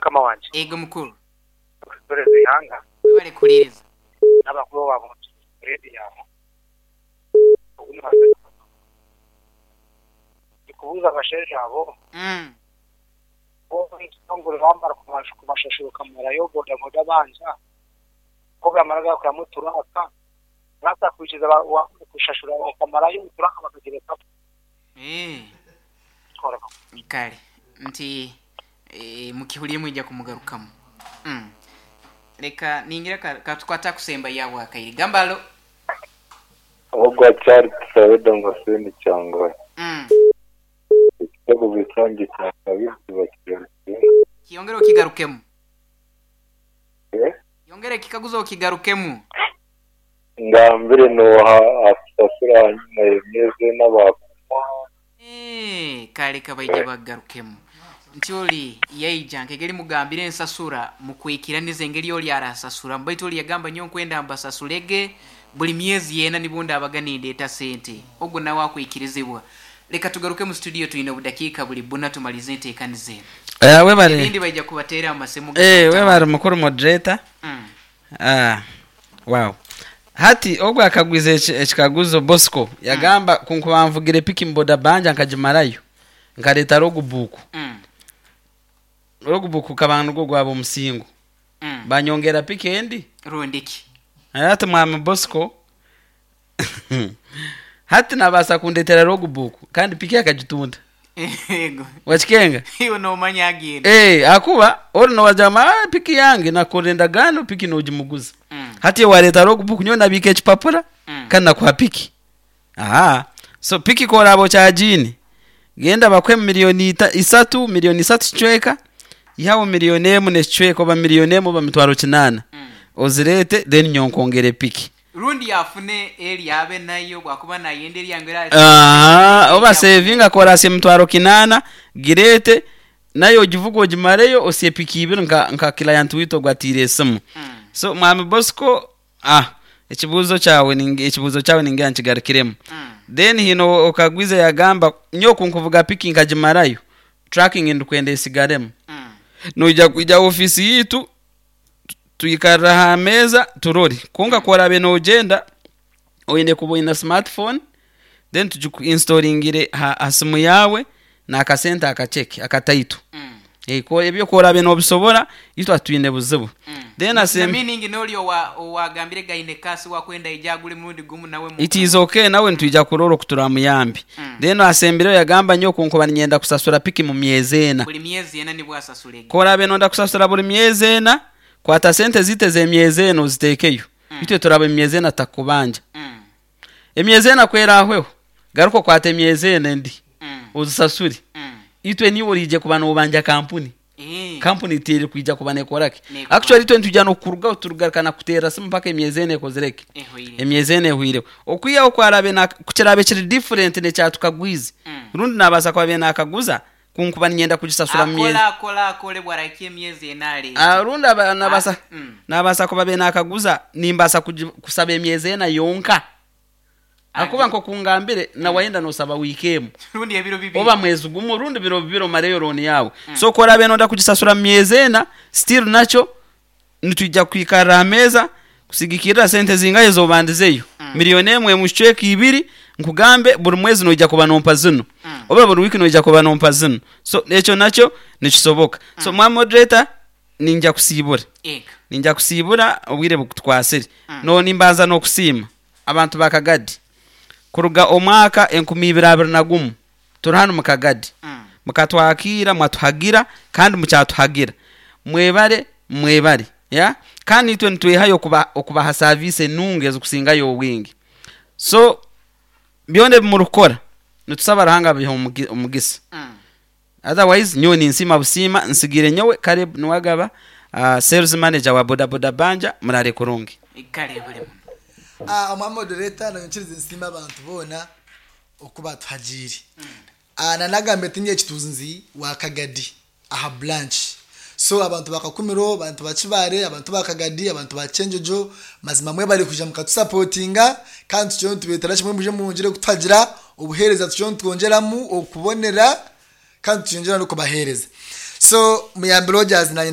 Mukama wangye. Ego mukuru. Okutuhereza eihanga. Webale kuhuriiriza. N'abakuru ba rediyo aho. Ogu ni Ndikubuuza abashaija abo. Bo ekitongore bamara kubashashura okamarayo bodaboda banja, ku bamara gakuramu turaka, turaka kwikiriza kushashura okamarayo turaka bakagirekamu. Kale nti mukihuriire mwija kumugarukamu. Leka ningira katukwate akusemba yaabwo akaire. Gamba alo. Ogwa Charles Tusabe Damascene Kyangwali. Ekikaguzo kyangye kya kabiri kiba kigarukiremu. Kiyongere okigarukemu. Yongera ekikaguzo okigarukemu. Ngambire nooha akusasura ahanyima y'emyezi ena baakumuha? Eeh, kale kabaije bakugarukemu. Nti oli yaija nk'engeri mugambire ensasura mukwikiraniza engeri oli arasasuramu. Baitu oli yagamba nyowe nkwenda mbasasurege buri myezi ena nibwo ndabaga nindeeta sente. Ogwo nawe akwikirizibwa. Leka tugaruke mu studio twine obudakiika buri buna tumalize enteekaniza enu. Eh, webale. Ebindi baija kubateera amasimu Eh, webale mukuru moderator. Ah, wow. Hati ogwo akagwiza ekikaguzo Bosco yagamba kunkuba nvugire piki mu boda banja nkagimarayo nkareta logbook. Logbook gukaba nigwo gwaba omusingo. Banyongera piki endi? Rundi ki? Hati mwami Bosco hati nabaasa kundetera logbook kandi piki akagitunda. Yego. Wakikenga? Iwe nomanya agenda. Eh, akuba ori nowagira ngu ah piki yange nakora endagaano piki nogimuguza. Hati iwe wareeta logbook nyowe nabiika ekipapura kandi nakuha piki. Ahaa. So piki ku oraabe okyagiine, genda bakuhe milioni isatu, milioni isatu kicweka, ihaho milioni emwe n'ekicweka oba milioni emwe oba mitwaro kinaana. Ozireete then nyowe nkwongyere piki. Rundi afune eri abe nayo bwakuba nayenda eryangu eri Ahaa, oba sevinga ku oraasya emitwaro kinaana, gireete nayo ogivuge ogimareyo osye piki ibiri nka nka client waitu ogu atiire esimu. So mwami Bosco, ah ekibuuzo kyawe ningi ekibuuzo kyawe ningira nkigarukiremu. Then haine okagwize yagamba nyowe ku nkuvuga piki nkagimarayo, tracking ndikwenda esigaremu. Noija kwija aha ofiisi yaitu Twikarre aha meeza turore. Kwonka ku oraabe noogyenda, oine kuba oine smartphone, then tugikuinstolingire aha simu yaawe n'akasente akakye akataito. Ebyo ku oraabe noobisobora, itwe titwine buzibu. Then Na asem. meaning n'ori owa owagambire ge aine kasi wakwenda aije agure murundi gumu nawe mu. It is okay nawe nitwija kurora oku turamuyambe. Then asembireyo yagamba nyowe ku nkuba niinyenda kusasura piki mu myezi ena. Buri myezi ena nibwo asasura egi. Ku oraabe nooyenda kusasura buri myezi ena, kwata sente zaitu ez'emyezi ena oziteekeyo. Itwe turaba omu myezi ena tutakukubanja. Emyezi ena ku eraahweho, garuka okwate emyezi ena endi ozisasure. Itwe niiwe oraije kuba noobanja kampuni. Kampuni terikwija kuba neekora ki? Actually itwe nitwija n'okukurugaho turigaruka nakuteerera simu mpaka emyezi ena ekozire ki? Emyezi ena ehweireho. Okwihaho ku araabe na, ku kiraabe kiri different n'ekya tukagwize, rundi naabaasa kuba abaire naakaguza, Ku nkuba niinyenda kugisasura mu myezi. Akole, akole, akole, bw'arahikya emyezi ena areete. Ah, rundi aba, naabaasa, naabaasa kuba abaire naakaguza, nimbaasa kugi, kusaba emyezi ena yonka. Ahakuba nk'oku ngambire, na waayenda noosaba wiiki emwe, Rundi ebiro bibiri. oba mwezi gumwe, rundi biro bibiri omareyo looni yaawe. So ku oraabe nooyenda kugisasura mu myezi ena, still nakyo Nitwija kwikarra aha meeza kusigikirra sente zingahi ez'obandizeyo. Milioni emwe emu kicweka ibiri, nkugambe buri mwezi noija kuba nompa zinu oba buri wiiki noija kuba nompa zinu. So ekyo nakyo nikisoboka. So mwami moderator, ninja kusiibura. Ninja kusiibura obwire bukutukwasire. No nimbanza n'okusiima abantu ba Kagadi kuruga omwaka 2021 Turi hanu mu Kagadi. Mukatwakiira, mwatuhagira, kandi mukyatuhagira. Mwebare, mwebare. Yeah? Kandi naitwe nitwehayo okuba, okubaha saaviisi enungi ezikusingayo obwingi. So, byona ebi murikukora, nitusaba Ruhanga abihe omugi, omugisa. Otherwise, nyowe ninsiima busiima, nsigaire nyowe Caleb Niwagaba, uh, sales manager wa Boda Boda Banja, muraare kurungi. Kale buri muno. Ah, omwami moderator nanyikiriza nsiime abantu boona oku baatuhagiire. Nanagambire ti nyine kituunzi wa Kagadi aha branch. So abantu ba Kakumiro, abantu ba Kibaale, abantu ba Kagadi, abantu ba Kyenjojo, mazima mwebare kwija mukatusapotinga kandi tukiriyo nitubeetera kimwe mwije mwongyere kutuhagira, obuheereza tukiriyo nitwongyeramu okubonera kandi tukiriyo nitwongyera n'okubaheereza. So Muyambi Rogers naanye.